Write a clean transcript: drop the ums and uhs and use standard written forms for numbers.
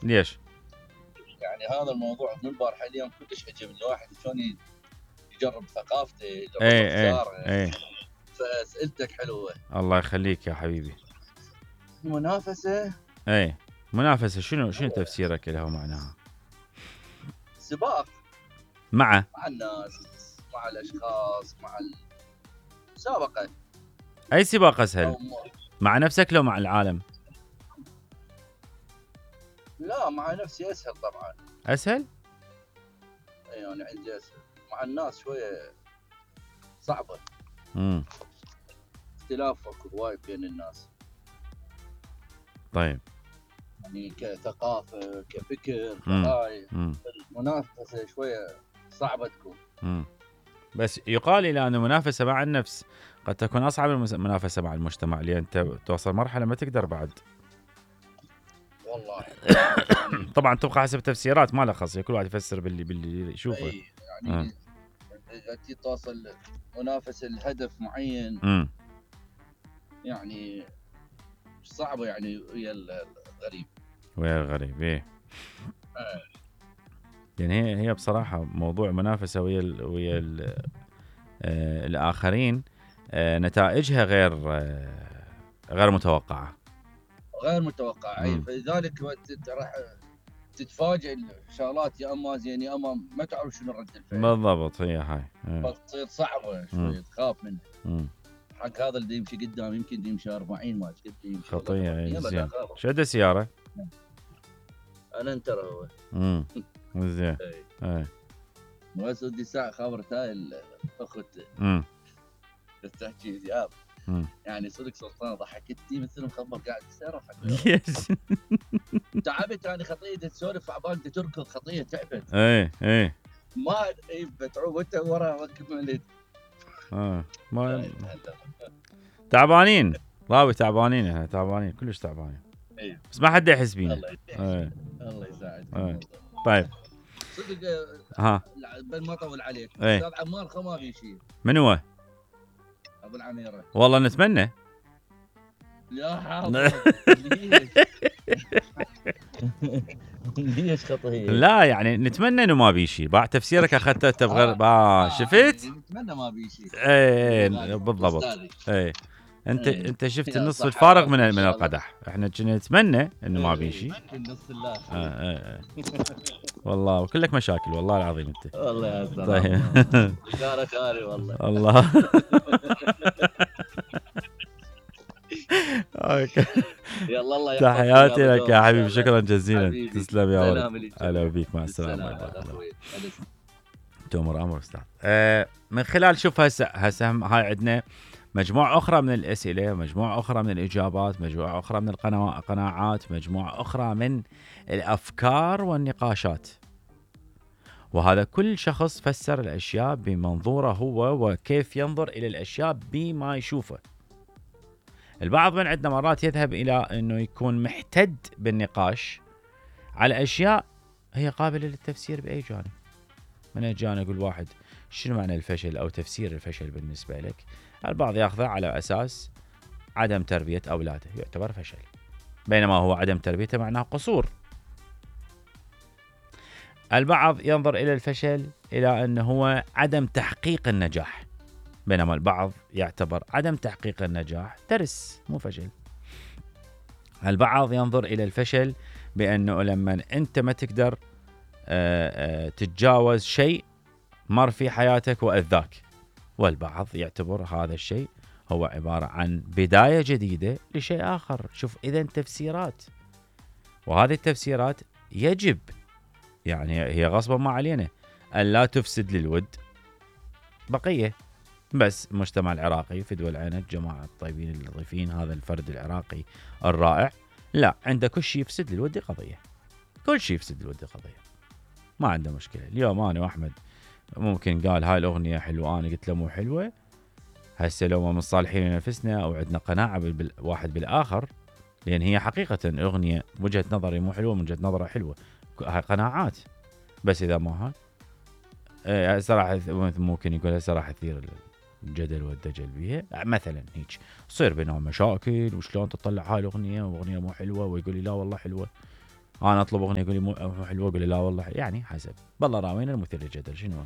ليش؟ يعني هذا الموضوع من البارحه اليوم كلش عجبني، الواحد شلون يجرب ثقافته، يجرب افكاره. فاسئلتك حلوه. الله يخليك يا حبيبي. منافسه. منافسه شنو تفسيرك لها ومعناها؟ سباق مع الناس، مع الاشخاص، مع المسابقه. اي سباق اسهل؟ مع نفسك لو مع العالم؟ لا مع نفسي اسهل طبعا. اسهل؟ يعني عندي اسهل، مع الناس شويه صعبه. اختلاف وايد بين الناس. طيب يعني كثقافه كفكر كهاي المنافسه شويه صعبه تكون. بس يقال الى ان المنافسه مع النفس قد تكون اصعب من المنافسه مع المجتمع، لان انت توصل مرحله ما تقدر بعد. والله طبعا تبقى حسب تفسيرات ما له خاص، كل واحد يفسر باللي يشوفه. يعني انت توصل منافسه لهدف معين. يعني صعبه يعني ويا الغريب. ايه يعني هي بصراحه موضوع منافسه ويا الاخرين نتائجها غير متوقعه. فلذلك راح تتفاجئ الشغلات يا اما زين يا اما ما تعرف شنو رد الفعل بالضبط. هي هاي فتصير صعبه شوي، تخاف منها. حق هذا اللي يمشي قدام يمكن يمشي 40 ما قد خطيه. زين شد السياره انا انترى هو زين بس ودي ساعه خابرت هاي الاخت تحكي ذياب يعني صدق سلطانه ضحكتني مثل مخبر قاعد يسرح. ليش؟ تعبت يعني خطيه تسولف عبالك تركض خطيه تعبت. ما بتعوب وانت ورا ركب مليت. ما تعبانين راوي، تعبانين احنا تعبانين كلش تعبانين. بس ما حد يحس بينا. الله يساعدك. طيب صدق بل ما طول عليك استاذ عمار خو ما في شيء. من هو؟ ابو العميره. والله نتمنى. يا حاضر ليش خطيه؟ لا يعني نتمنى انه ما بي شيء. بعد تفسيرك اخذته تبغى شفت؟ نتمنى ما بي شيء. بالضبط. انت شفت النصف الفارغ من القدح. احنا كنا نتمنى انه ما بي شيء. النص الله. والله وكلك مشاكل والله العظيم انت. والله يا سلام. طيب شارك خاري والله. الله يلا الله تحياتي لك يا حبيبي، شكرا جزيلا. تسلم يا ولد. هلا بيك، مع السلامه. تؤمر امر استاذ. من خلال شوف هسه هاي عندنا مجموعة أخرى من الأسئلة، مجموعة أخرى من الإجابات، مجموعة أخرى من القناعات، مجموعة أخرى من الأفكار والنقاشات. وهذا كل شخص فسر الأشياء بمنظوره هو وكيف ينظر إلى الأشياء بما يشوفه. البعض من عندنا مرات يذهب إلى أنه يكون محتد بالنقاش على أشياء هي قابلة للتفسير بأي جانب. من الجانب يقول واحد شنو معنى الفشل أو تفسير الفشل بالنسبة لك؟ البعض يأخذه على أساس عدم تربية أولاده يعتبر فشل، بينما هو عدم تربيته معناه قصور. البعض ينظر إلى الفشل إلى أنه هو عدم تحقيق النجاح، بينما البعض يعتبر عدم تحقيق النجاح درس مو فشل. البعض ينظر إلى الفشل بأنه لما أنت ما تقدر تتجاوز شيء مر في حياتك وأذاك، والبعض يعتبر هذا الشيء هو عبارة عن بداية جديدة لشيء آخر. شوف إذن تفسيرات، وهذه التفسيرات يجب يعني هي غصبا ما علينا أن لا تفسد للود بقية. بس المجتمع العراقي في دول عينك جماعة الطيبين اللطيفين، هذا الفرد العراقي الرائع لا عنده كل شيء يفسد للود قضية، كل شيء يفسد للود قضية، ما عنده مشكلة. اليوم أنا وأحمد ممكن قال هاي الأغنية حلوة، أنا قلت له مو حلوة، هسه لو ما مصالحين لنفسنا أو عندنا قناعة واحد بالآخر، لأن هي حقيقة أغنية وجهة نظري مو حلوة، من وجهة نظره حلوة، هاي قناعات. بس إذا ما هاي صراحة ممكن يقول صراحة تثير الجدل والدجل بيها مثلا، هيك صير بينهم مشاكل وشلون تطلع هاي الأغنية وأغنية مو حلوة، ويقول لي لا والله حلوة. انا اطلب اغنيه يقول لي مو حلوه، اقول له لا والله يعني حسب، بالله راوينا المثير للجدل شنو